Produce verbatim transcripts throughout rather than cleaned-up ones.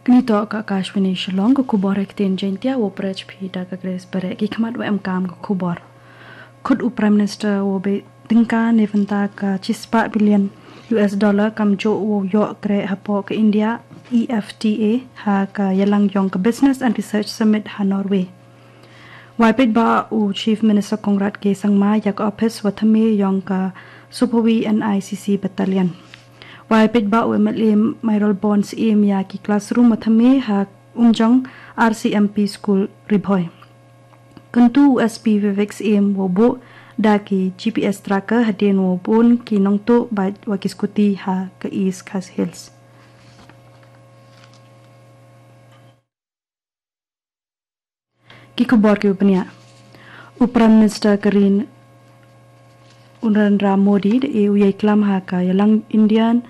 Kani toh ka Akashvani Shillong, ka khubor ha ktien Jaiñtia, u pyrshah phi da ka Grace Bareh. Ki khmat wa emkam ka khubor. Khut u Prime Minister wa bei tyngka ne bynta ka chispah billion U S dollar kam joh wa yoh kreh hapoh ka India E F T A ha ka yalang yong ka Business and Research Summit ha Norway. Wai peit ba u Chief Minister Conrad K Sangma ya ka office wa thymme yong ka Supawi N I C C Battalion. Wai peit ba u M L A Mayralborn Syiem ya ki classroom wa thymme ha Umjong R C M P School Ri Bhoi. Kyntu u S P Vivek Syiem wa buh da ki G P S tracker hadien wa bun ki nongtuh bad wa ki scooty ha ka East Khasi Hills. Ki khubor ki u bniah. U Prime Minister ka ri u Narendra Modi da e u yei klam ha ka yalang Indian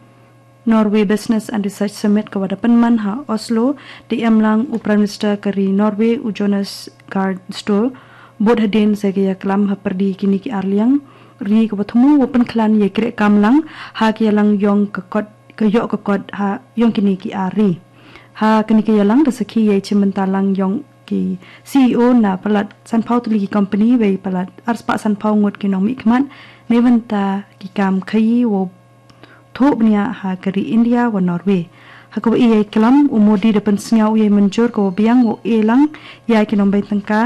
Norway Business and Research Summit ka wa da pynman ha Oslo. Da em lang u Prime Minister ka ri Norway u Jonas Gahr Store bud hadien sa ka ya klam ha pyrdi kini ki arliang ri ka wa thmu wa pynkhlaiñ yei kreh kam lang ha ka yalang yong ka kot ka yoh ka kot ha yong kini ki ar ri. Ha kini ki yalang da sakhi yei chimbynta lang yong ki C E O na palat sanphaw tylli ki company wei palat arspah sanphaw ngut ki nongmihkhmat ne bynta ki kam khaii wa thuh bniah ha ka ri India wa Norway. Ha ka wa yei klam u Modi da pynsngew yei mynjur ka wa biang wa e lang ya ki nongbei tyngka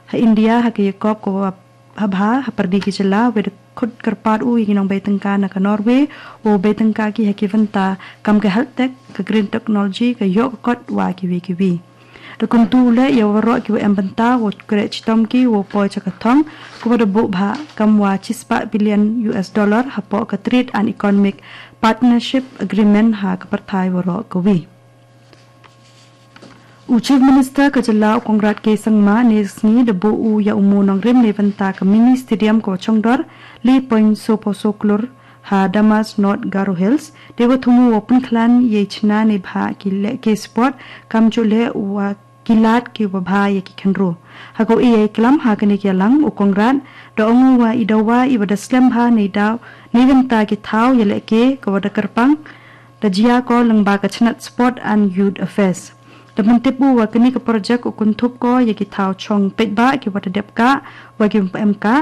ha India ha ka ya kop ka wa ha bha ha pyrdi ki jylla wei da khut kyrpad u ya ki nongbei tyngka na ka Norway wa bei tyngka ki ha ki bynta kam ka health tech, ka green technology, ka yoh ka kot wa ki wi ki wi. Da kyntu le ya waroh ki wa em bynta wa kreh chitom ki wa poi cha ka thong ka wa da buh bha kam wa chispah billion U S dollar hapoh ka Trade and Economic Partnership Agreement ha ka pyrthai waroh ka wi. U Chief Minister ka jylla u Conrad K Sangma ne sngi da buh u ya u mo nongrim ne bynta ka mini stadium ka wa chongdor le point so phaw so klur ha Damas, North Garo Hills. De wa thmu wa pynkhlaiñ yei chna ne bha ki leh ke sport kam joh le wa ki lad ki wa bha ya ki khynru. Ha ka wa yei klam ha kani ki yalang u Conrad da ong u wa i dawa i wa da slem bha ne daw ne bynta ki thaw ya leh ke ka wa da kyrpang da jia ko lyngba ka chnat Sport and Youth Affairs. Da pyntip u wa kani ka project u kynthup ko ya ki thaw chong peit ba ki wa da dep ka wa ki em ka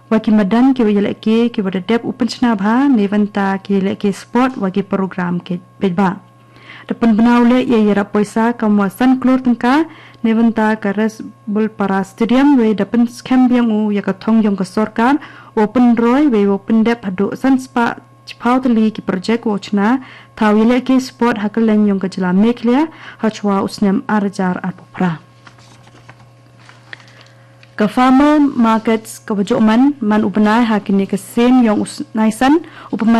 wa ki madan ki wa ya leh ke ki wa da dep u pynchna bha ne bynta ki leh ke sport wa ki program ke peit ba. Da pynbna u le ya yarap poisa kam wa san klur tyngka ne bynta ka Resbulpara Stadium wei da pynskhem biang u ya ka thong yong ka sorkar wa pynroi wei wa pyndep haduh san spah chiphaw tylli ki project wa chna thaw ya leh ke sport ha ka leng yong ka jylla Meghalaya ha chwa u snem ar hajar arphew phra. Ka Farmer Markets ka wa joh man man u bnai ha kini ka sien yong u naisan u pynman